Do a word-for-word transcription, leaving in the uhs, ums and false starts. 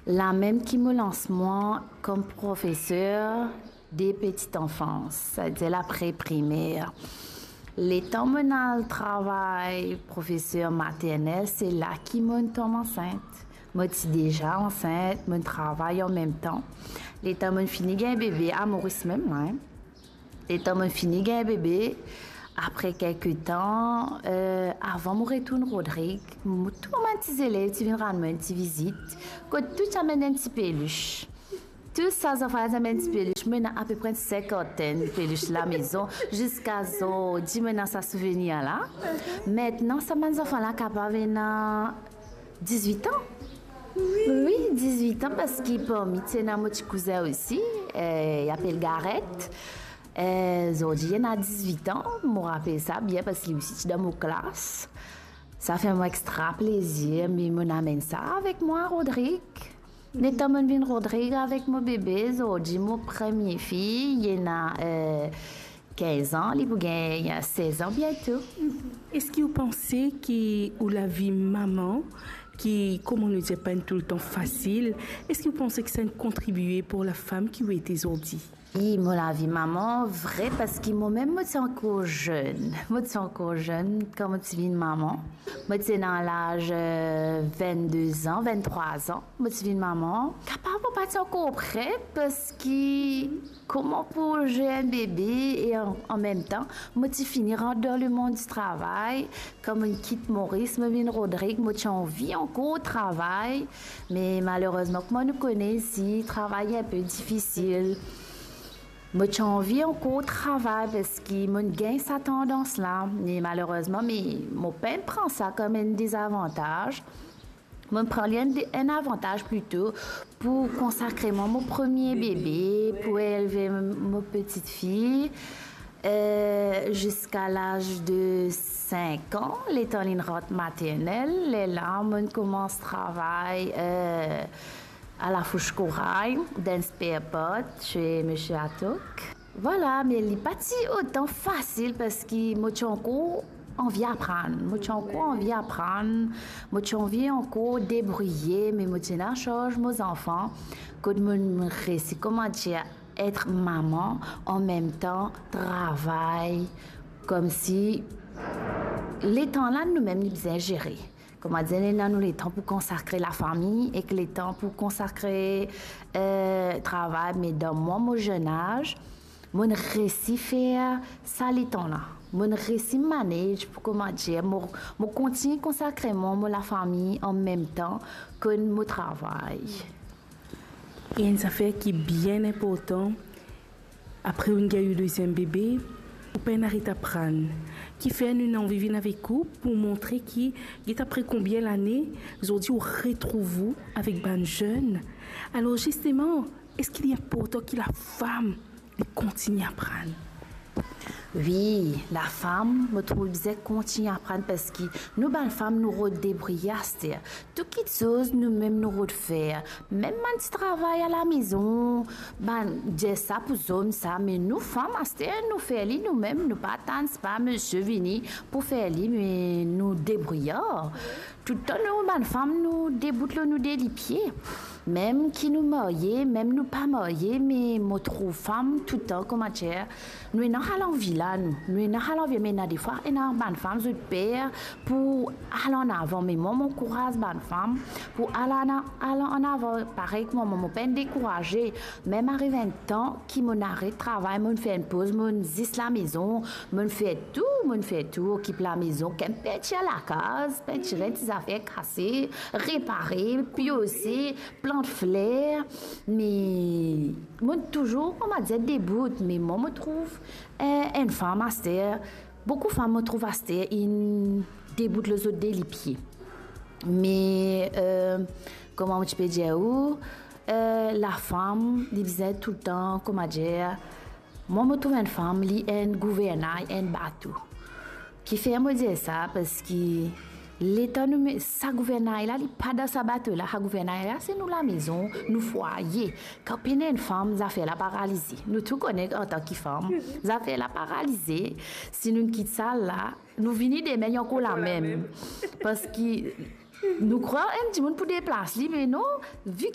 Lamem ki mo lans mwa kom profeser de petite enfance, setadir la pre-primer. Letan mo'nn al travay profeser maternel, se la ki mo'nn tom ansint. Mo ti deza ansint, mo'nn travay anmemtan. Letan mo'nn fini gagn bebe, a Moris mem la, hein. Letan mo'nn fini gagn bebe, apre kelke tan, eh, avan mo retourn Rodrig, mo, tou bann ti zelev ti vinn rann mwa enn ti vizit, kot tou ti amenn enn ti pelis. Tou sa zanfan ti amenn ti pelis, mo ena apepre enn sinkantenn pelis lamezon, ziska zordi mo ena sa souvenir la. Aster sa bann zanfan la kapav ena dizwit an. Wi, dizwit an, parski parmi ti ena mo ti kouzin osi, eh, li apel Gareth. Eh, zordi li ena dizwit an, mo rapel sa bien parski li osi ti dan mo klas. Sa fer mwa extra plezir, me mo'nn amenn sa avek mwa, Rodrig. Letan mo'nn vinn Rodrig avek mo bebe, zordi mo premie fi, li ena, eh, kinz an, li pou gagn sez an biento. Eski ou panse ki ou lavi mama, ki, kouma nou dir, pa enn toultan fasil, eski ou panse ki sa inn kontribie pou lafam ki ou ete zordi? Wi, mo lavi mama, vre, parski momem mo ti ankor zenn. Mo ti ankor zenn kan mo ti vinn mama. Mo ti ena laz, eh, vennde an, venntrwa an. Mo ti vinn mama. Kapav mo pa ti ankor pre, parski kouma pou zenn bebe e an, anmemtan, mo ti fini rant dan lemond di travay. Kan mo'nn kit Moris, mo vinn Rodrig, mo ti anvi ankor travay. Me malerezman, kouma nou kone isi, travay enpe difisil. Mo ti anvi ankor travay parski mo'nn gagn sa tandans la. Me malerezman, me mo pa'nn pran sa kom enn dezavantaz. Mo'nn pran li enn de-, enn avantaz plito pou konsakre mwa mo premie bebe, pou elve mo petite fille, eh, ziska laz de sink an, letan li'nn rant maternel, lerla mo'nn koumans travay, eh, a la Fouche Corail, dan spare part, se misie Atok. Vwala, me li pa ti otan fasil parski mo ti ankor anvi aprann. Mo ti ankor anvi aprann, mo ti anvi ankor debrouye, me mo ti ena sarz mo zanfan, kot mo, mo resi, kouma dir, et mama, anmemtan travay, koumsi letan la noumem nou bizin zere. Kouma dir, nou ena nou letan pou konsakre lafami ek letan pou konsakre, eh, travay, me dan mwa, mo zenn az, mo'nn resi fer sa letan la. Mo'nn resi manage pou, kouma dir, mo, mo kontign konsakre mwa mo lafami anmemtan ki mo travay. E enn zafer ki bien inportan, apre ou'nn gagn ou deziem bebe, ou pa'nn aret aprann. Kifer nou ena anvi vinn avek ou pou montre ki, get apre konbien lane, zordi ou retrouv ou avek bann zenn. Alor zisteman, eski li inportan ki lafam li kontign aprann? Wi, lafam, mo trouv bizin kontign aprann parski nou bann fam nou rod debrouye aster. Tou kitsoz noumem nou rod fer. Mem bann ti travay alamezon, bann dir sa pou zom sa, me nou fam aster nou fer li noumem, nou pa atann sipa misie vini pou fer li, me nou debrouye. Toultan nou bann fam nou debout lor nou de lipie. Mem ki nou marye, mem nou pa marye, me mo trouv fam toultan, kouma dir, nou ena sa lanvi la, nou, nou ena sa lanvi, me ena defwa ena bann fam zot per pou al an avan, me mwa mo ankouraz bann fam pou al an, al an avan. Parey kouma mwa, mo pa'nn dekouraze, mem ariv enn tan ki mo'nn aret travay, mo'nn fer enn poz, mo'nn zis lamezon, mo'nn fer tou, mo'nn fer tou, okip lamezon, kem pintir lakaz, pintir enn ti zafer kase, repare, piose, plant fler, me mo'nn touzour, kouma dir, debout, me mwa mo trouv, eh, enn fam aster, boukou fam mo trouv aster inn debout lor zot de lipie. Me, eh, kouma mo ti pe dir ou, eh, lafam, li bizin toultan, kouma dir, mwa mo trouv enn fam, li enn gouvernay enn bato. Kifer mo dir sa? Parski letan nou me-, sa gouvernay la, li pa dan sa bato la. Sa gouvernay la, se nou lamezon, nou fwaye. Kan pena enn fam, zafer la paralize. Nou tou kone antan ki fam, zafer la paralize. Si nou kit sa la, nou vini demin, li ankor lamem. Parski nou krwar enn dimoun pou deplas li, me non, vi